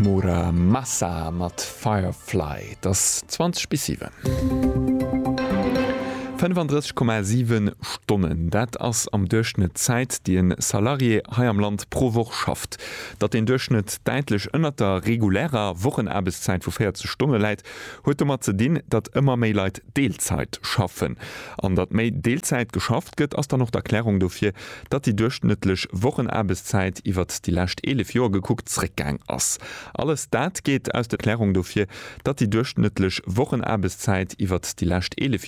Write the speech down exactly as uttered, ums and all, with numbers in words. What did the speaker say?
Mura Masa mat Firefly et ass zwanzeg bis siwen. fënnefandrësseg Komma siwen Stonnen, dat ass am Duerchschnëtt d'Zäit, déi e Salarié hei am Land pro Woch schafft. Datt deen Duerchschnëtt däitlech ënnert der regulärer Wochenaarbechtszäit vu véierzeg Stonne läit, huet domat ze dinn, datt ëmmer méi Leit Deelzäit schaffen. An datt méi Deelzäit geschafft gëtt, ass dann och d'Erklärung dofir, datt déi duerchschnëttlech Wochenaarbechtszäit iwwert déi lescht eelef Joer gekuckt zréckgaang ass. Alles dat geet aus der Erklärung dofir, datt déi duerchschnëttlech Wochenaarbechtszäit iwwert déi lescht eelef